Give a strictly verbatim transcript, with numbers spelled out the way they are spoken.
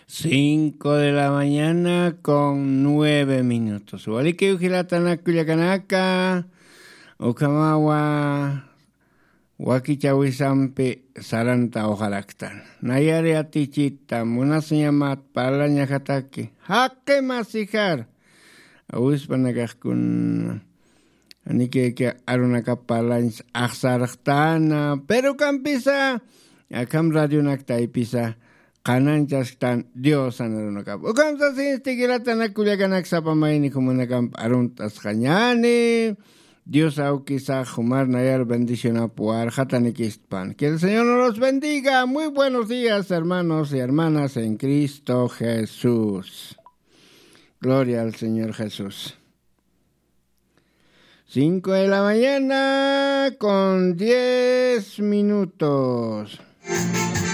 Cinco de la mañana con nueve minutos. Walikiw jilatanak kullakanaka, ukhamawa wakichawisampi saranta ojaraktan. Nayari atichita, munasiñamat parlañajataki, jaqi masijar. Awispanakaxkun, anikiki arunakap parlañs axsarxtana, pero kampisa, akham radionak taypisa, qananchasktan Diosan arunakap. Ukham sasinsti jilatanak kullakanak sapa mayni jumanakamp arunt'asxañani. Dios awkisax jumar nayar bendicionap warxatanikistpan. Que el Señor nos los bendiga. Muy buenos días, hermanos y hermanas en Cristo Jesús. Gloria al Señor Jesús. Cinco de la mañana con diez minutos.